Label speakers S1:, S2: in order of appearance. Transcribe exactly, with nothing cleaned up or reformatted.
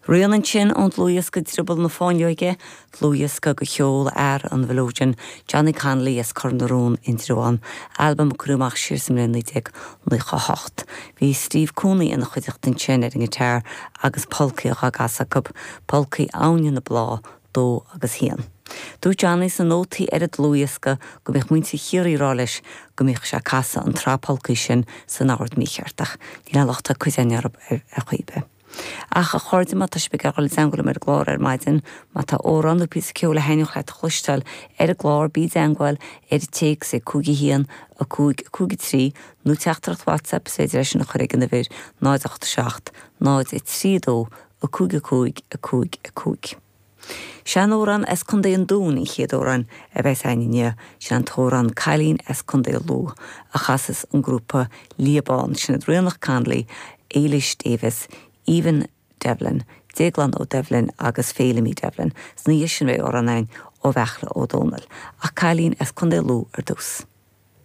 S1: Rian ansin ón dlúthdhiosca Drioball na Fáinleoige, dlúthdhiosca de cheol fhear an mhileoidin Johnny Connolly as Cor na Rón Indreabhán, albam a cuireadh amach siar sa mbliain naoi déag nócha a hocht. Bhí Steve Cooney ina chuideachta ansin ar an ngiotár agus polcaí á gcasadh acu, polcaí Abhainn na Blá, dó agus haon. Dúirt Johnny sna nótaí ar an dlúthdhiosca go mbíodh muintir Chiarraí ag rá leis go mbíodh sé ag casadh an tsraith polcaí sin san ord mícheart ach níl aon locht ar cuid againn orthu ar chaoi ar bith. Ach a chairde má tá sibh ag dul i dteagmháil liom ar an gclár ar maidin, má tá amhrán nó píosa ceoil a thaitneodh leat a chloisteáil ar an gclár bí i dteagmháil ar an téacs ag cúig a haon a cúig cúig a trí nó teachtaireacht WhatsApp is féidir é sin a chur ag an uimhir náid ocht seacht náid a trí dó a cúig a cúig a cúig a cúig. Seanamhrán as Contae an Dúin an chéad amhrán a bheas againn inniu sin an t-amhrán Cailín as Contae Lú a chasas an grúpa Liabán sin Ríonach Connolly, Éilish Davis, Aoibhinn Devlin, Déaglán Ó Doibhlin agus Féilimí Devlin, Sna sin bheidh amhrán ó Bheartla Ó Dónaill, ach cailín as Contae Lú ar dtús.